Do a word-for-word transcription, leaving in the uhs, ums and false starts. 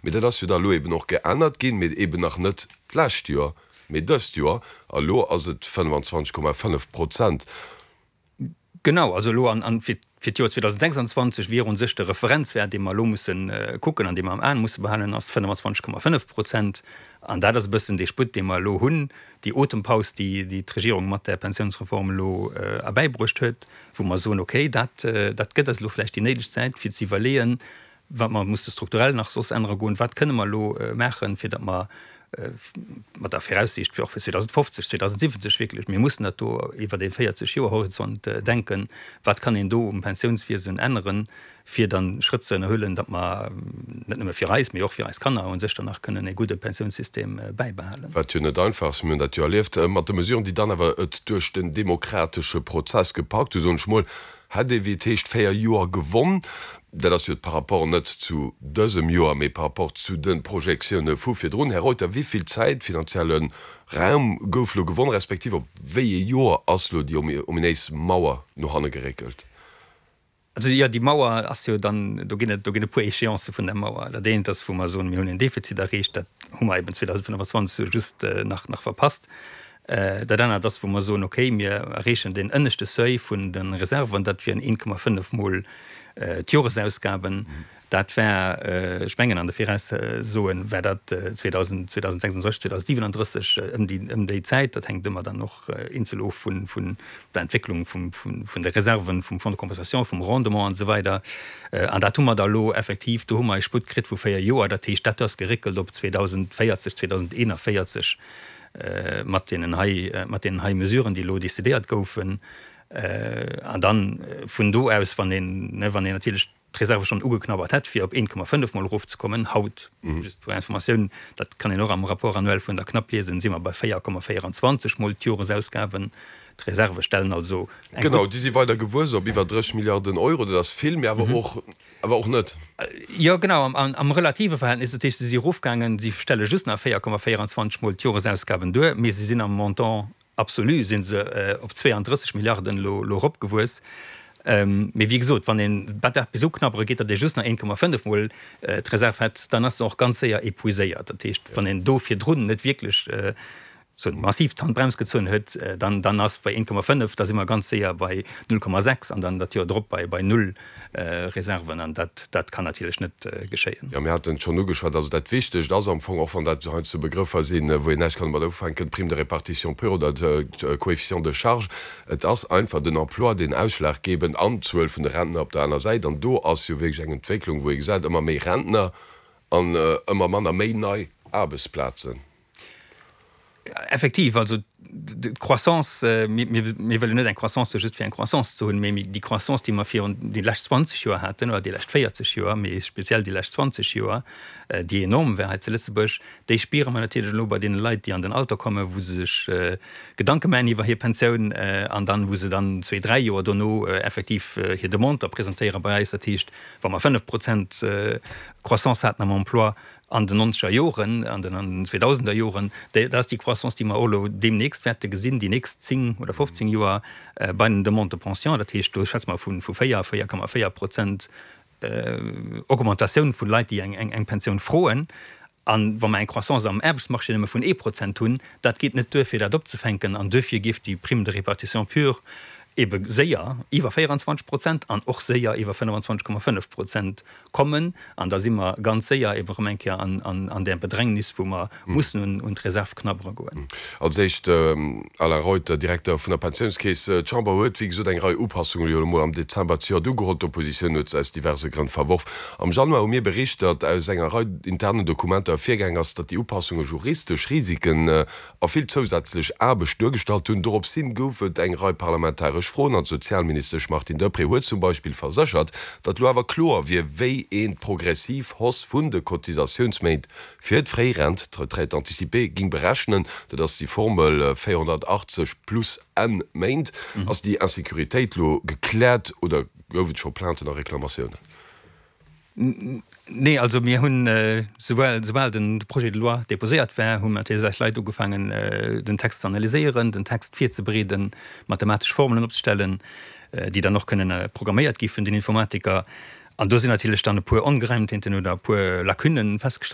Mee dat ass jo da elo eben och geännert ginn, mee eben nach net d'lescht Joer, mee dëst Joer, a lo ass et fënnfanzwanzeg Komma fënnef Prozent. Genau, also elo an, an fir, fir d'Joer zweedausendsechsanzwanzeg wier u sech de Referenzwäert, dee mer elo mussen kucken an dee mer am Aen musse behalen, ass fënnfanzwanzeg Komma fënnef Prozent. An dat ass e bëssen dee Sputt, dee mer elo hunn, déi Otempaus, déi, déi d'Regierung mat där Pensiounsreform elo erbäibruecht huet, wou mer soen, okay, dat, dat gëtt eis elo vläicht déi néideg Zäit, fir ze iwwerleeën, wat mer musse strukturell nach soss ännere goen, wat kënne mer elo maachen, fir datt mer mat der Viraussiicht fir och fir zweedausendfofzeg, zweedausendsiwwenzeg wierklech, mir mussen dat do iwwert ee véierzeg Joer Horizont denken, wat kann een do um Pensiounswiesen änneren, fir dann Schrëtt ze ënnerhuelen, datt mer net nëmme fir eis, mee och fir eis Kanner u sech dann nach kënnen e gudde Pensiounssystem bäibehalen. Wat jo net einfach ass, mir hunn dat jo erlieft mat de Mesuren, déi dann awer et duerch den demokratesche Prozess gepackt hu, soen ech mol, hätt ee wéi et heescht véier Joer gewonn. Dat ass jo par rapport net zu dësem Joer, mee par rapport zu de Projektioune vu virdrun. Här Reuter, wéi vill Zäit, finanzielle Raum gouf elo gewonn, respektiv op wéi ee Joer ass elo déi ominéis Mauer no hanne geréckelt? Also jo, déi Mauer ass jo dann, do ginn et, do ginn e puer Échéancë vun der Mauer. Dat eent ass, wou mer soen, mir hunn en Defizit erreecht, dat hu mer eben zweedausendfënnfanzwanzeg just nach, nach verpasst. Dat anert ass, wou mer soen, okay, mir erreechen deen ënneschte Seuil vun de Reserven, dat wieren een Komma fënnef mol d'Joresausgaben. Dat war, ech mengen an de Viraussoen war dat zweedausendsechsunddrësseg, zweedausendsiewenunddrësseg, ëm déi, ëm déi Zäit. Dat hänkt ëmmer dann och eenzel of vun, vun der Entwécklung vum, vun, vun de Reserven, vum Fonds de compensation, vum Rendement an esou weider. An dat hu mer da elo effektiv, do hu mer e Sputt kritt vu véier Joer. Dat heescht, dat ass geréckelt op zweedausendvéierzeg, zweedausendeenavéierzeg. Mat deenen hei, mat deenen hei Mesuren, déi elo decidéiert goufen. An dann vun do aus, wann een, ne, wann een natierlech d'Reserve schonn ugeknabbert hätt, fir op een Komma fënnef mol erofzekommen, haut, just pour Informatioun, dat kann een och am Rapport annuel vun der CNAP liesen, si mer bei véier Komma véieranzwanzeg mol d'Joresausgaben. D'Reserve stellen also eng gutt. Genau, déi si weider gewuess op iwwer dréch Milliarden Euro. Dat ass vill, mee awer och, awer och net. Jo, genau, am, am relative Verhältnis. Dat heescht, se si erofgaangen, si stelle just nach véier Komma véieranzwanzeg mol d'Joresausgaben duer, mee se sinn am Montant absolu si se op zweeandrësseg Milliarden elo, elo eropgewuess. Mee wéi gesot, wann een dat bis uknabbere geet, datt ee just nach een Komma fënnef mol d'Reserv hätt, dann ass se och ganz séier épuiséiert. Dat heescht, wann een do virdrun net wierklech sou massiv d'Handbrems gezunn huet, dann, dann ass bei een Komma fënnef, da si mer ganz séier bei null Komma sechs an dann dat Joer drop bei, bei null Reserven. An dat, dat kann natierlech net geschéien. Jo, mir haten et schonn ugeschwat. Also dat Wichtegt ass am Fong, och wann dat heiansdo Begrëffer sinn, wou een näischt kann domat ufänken, d'Prime de répartition pure oder de Coefficient de charge, et ass einfach den Emploi, deen ausschlaggebend an d'Zuel vun de Rentner op der aner Säit. An do ass jo wierklech eng Entwécklung, wou ee gesäit, ëmmer méi Rentner an ëmmer manner méi nei Aarbechtsplazen. Effektiv, also d'Croissance, mir wëllen net eng Croissance just fir eng Croissance ze hunn, mee déi Croissance, déi mer virun déi lescht zwanzeg Joer haten, oder déi lescht véierzeg Joer, mee speziell déi lescht zwanzeg Joer, déi enorm war hei zu Lëtzebuerg, déi spiere mer natierlech elo bei deene Leit, déi an den Alter kommen, wou se sech Gedanke maachen iwwer hir Pensioun an dann, wou se dann zwee, dräi Joer dono effektiv hir Demande da presentéiere bei eis. Dat heescht, wa mer fënnef Prozent Croissance haten am Emploi an den nonzeger Joren, an den zweedausender Joren, dat ass déi Croissance, déi mer och elo deemnächst wäerte gesinn, déi nächst zéng oder fofzéng Joer bei den Demandes de pension. Dat heescht, do schwätze mer vu véier, véier Komma véier Prozent Augmentatioun vu Leit, déi eng Pensioun froen. A wa mer eng Croissance am Aarbechtsmarché nëmme vun ee Prozent hunn, dat geet net duer, fir dat opzefänken. An duerfir géif déi Prime de répartition pure ebe séier iwwer véieranzwanzeg Prozent an och séier iwwer fënnefanzwanzeg Komma fënnef Prozent kommen. An da si mer ganz séier ebe erëm eng Kéier an där Bedrängnis, wou mer mussen un d'Reserv knabbere goen. Als éischt, Alain Reuter, Direkter vun der Pensiounskeess, D'Chamber huet, wéi gesot, eng Rei Upassungen elo emol am Dezember zejoert ugeholl. D'Oppositioun huet se aus diverse Grënn verworf. Am Januar hu mir bericht, datt aus enger Rei internen Dokumenter ervirgaang ass, datt déi Upassunge juristesch Risiken a vill zousätzlech Aarbecht duergestallt hunn. Dorops hin gouf et eng Rei parlamentaresch Froen an d'Sozialministesch Martine Deprez huet zum Beispill verséchert, datt elo awer kloer wier, wéi een d'progressiv Hausse vun de Cotisatiounsméint fir d'Fréirent, d'Retraite anticipée, géing berechnen. Dat ass déi Formel véierhonnertachtzeg plus N Méint. Ass déi Insécuritéit elo gekläert oder gouf et scho Plainten a Reklamatiounen? Nee, also mir hunn, soubal, soubal den Projet de loi déposéiert war, hu natierlech eis Leit ugefaangen, den Text ze analyséieren, den Text virzebereeden, mathematesch Formelen opzestellen, déi dann och kënnen programméiert gi vun den Informatiker. An do sinn natierlech dann e puer Ongereimtheeten oder e puer Lacunnen festgestallt